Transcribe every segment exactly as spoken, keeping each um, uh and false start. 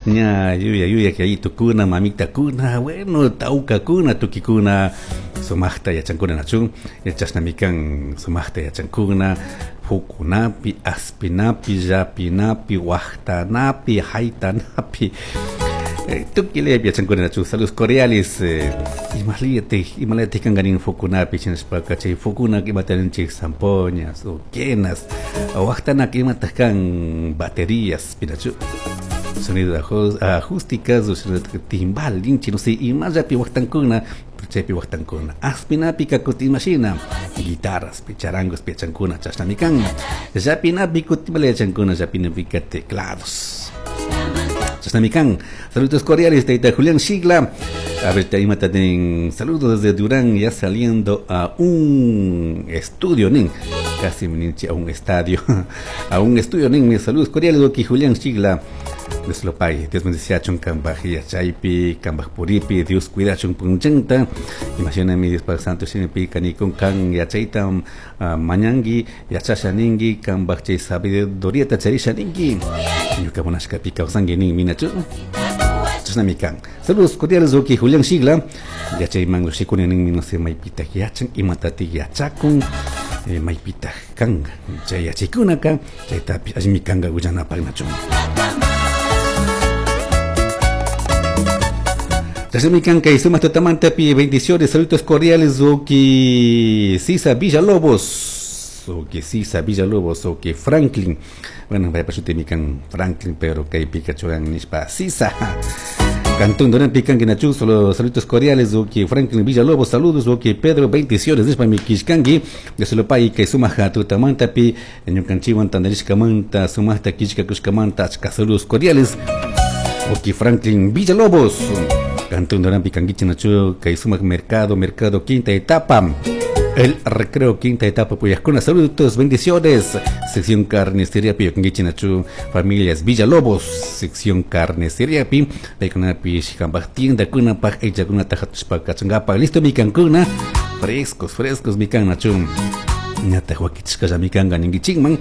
Ña yuya yuya yayitukuna, mamitakuna, bueno, tawkakuna, tukikuna sumaqta yachankuna nachu, chashnami kan sumaqta yachankuna fukunapi, aspinapi, llapinapi, waqtanapi, haytanapi. Tukuy yachankuna nachu. Saludos cordiales. Imaliyatij, imalayatij kankanin fukunapi, shinashpaka chay fukuna imataninchik zampoñas o quenas, waqtanak imataq kan baterías, pinachu. Sonido acústicas, timbal, linchi, no sé, imallapi waqtankuna, chaypi waqtankuna. Aspinapi kakuti imashina, guitarras, charangos, yachankuna, chashnami kan. Llapinapi kutimala yachankuna, llapinapika teclados. Chashnami kan. Saludos cordiales, Taita Julián Shigla. A ver, imata nin saludos desde Durán, ya saliendo a un estudio, nin. Casi ninchi a un estadio. A un estudio, nin. Mis saludos cordiales, aquí Julián Shigla. Dios lo pague, Dios bendecía kambaj yachaypi, kambaj puripi, Dios cuidachun punchanta. Imagíname Dios Padre Santo shinapi kanikun kan yachayta uh, mañangi, yachasha ningi, kambaj chay sabiduría charisha ningi. Ñuka munashkapi kawsangi nin minachu. Chashnami kan. Saludos cordiales, oki Julián Shigla. Yachayman lushikuni nin no sé maypita yachan, imatati yachakun. Eh, maypita kan, chay yachaykunaka, chaytapi allimi kanga willanapaq nachun. Chashnami kan sumaq tutamantapi bendiciones, saludos cordiales, oki Sisa Villalobos, oki Sisa Villalobos, oki Franklin. Bueno, vaya pasutimi kan Franklin, pero kay pikachuan nishpa Sisa. Cantón Durán Pican Guinachu, solo saludos cordiales, oki Franklin Villalobos, saludos, oki Pedro, bendiciones, nishpa mi kishkangi, de solo pay que sumaja tutamantapi, ñukanchiwan tandarishkamanta, sumajta kishkakushkamanta, achka saludos cordiales, oki Franklin Villalobos. Cantón Durán Picanguichi Nachu, Kaisumac Mercado, Mercado Quinta Etapa, El Recreo Quinta Etapa, Puyascuna, saludos, bendiciones, sección Carnicería Picanguichi Nachu, familias Villalobos, sección Carnicería Pi, Paykunapi, Xicambaj Tienda, Kunapaj, Echacuna, Tajatushpa, Cachangapa, listo mi cancuna, frescos, frescos, mi can Nachu. Ñata wakichishkalla mi kanka ninkichikman,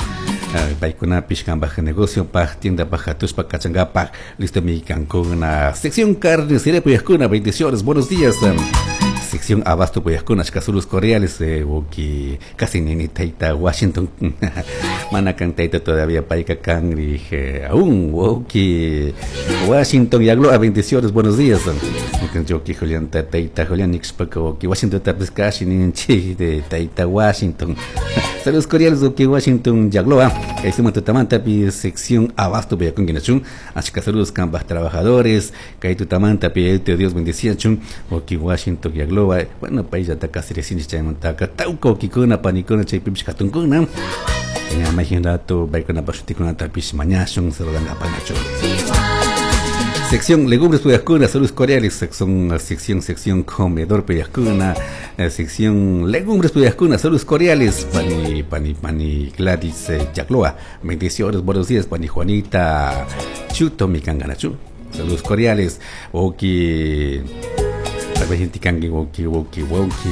paykunapish kanpaj negocio paj tienda paj hatushpa kachankapak, listo mi kankuna, sección carnicería puyajkuna, bendiciones, buenos días. Sección abasto puyajkuna, achka saludos cordiales, eh, oki casi nini taita Washington, mana kan taita todavía payka kan, dije aún, oki Washington yagloa, bendiciones, buenos días. Oki Julián taita Julián nixpaka, oki Washington tapis casi ninchi de taita Washington. Saludos cordiales, oki Washington yagloa, kay tutamantapi sección abasto puyajkuna, achka saludos kanpaj trabajadores, kay tutamantapi Dios bendeciachun, oki Washington yagloa. Bueno, pay ya ta casi recién chaymantaka tawka okikuna panikuna chaypipish katunkuna ña mayjin rato paykuna pashutikunatapish mañashun saludankapanachu. Sección legumbres puyajkuna, saludos cordiales, sección, sección, sección comedor puyajkuna, sección legumbres puyajkuna, saludos cordiales, pani, pani, pani Gladys eh, Yagloa, bendiciones, buenos días, pani Juanita Chuto mi kanganachu, saludos cordiales, oki woki woki woki.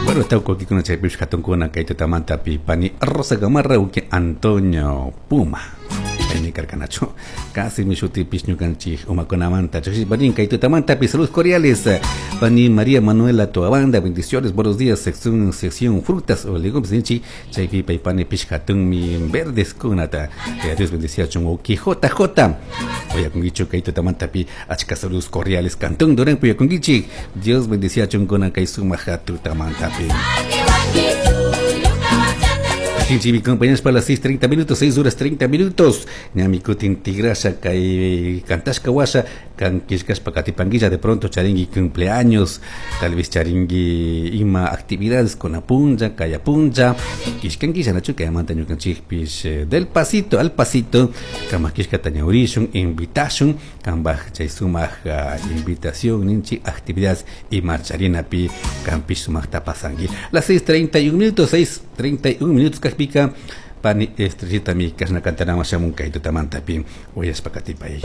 Bueno, está aquí con chaypish katunkuna kay tutamantapi pani Rosa Gamarra uki Antonio Puma. Aymi karkanachu. Casi mi shutipish ñukanchik umakunamanta. Chashi kay tutamantapi saludos cordiales. Pani María Manuela Toabanda, bendiciones, buenos días, sección sección frutas o legumbres ninchi chaypi paypani pish katunmi verdes kunata. Dios bendeciachun uki J J. Oyakungichu kay tutamantapi achka saludos cordiales cantón Durán puyakungichik. Dios bendeciachun kuna kay sumaq tutamantapi. Mi compañeros para las seis treinta minutos, seis horas treinta minutos. Ñami kutin tigrasha kay kantashka washa kan kishkashpa katipanguilla de pronto charingui cumpleaños, tal vez charingui ima actividades con apunja, kayapunja, kishkanguilla nachu kayamanta ñukanchikpish del pasito al pasito, kama kishka tañaurishun, invitashun, kambaj chay sumaq uh, invitación ninchi actividades y marcharinapi kampish sumaqta pasangui. Las seis treinta y un minutos, seis treinta y un minutos kajpika pani estrellita mi kashna kantanama shamun kay tutamantapi uyashpa katipay.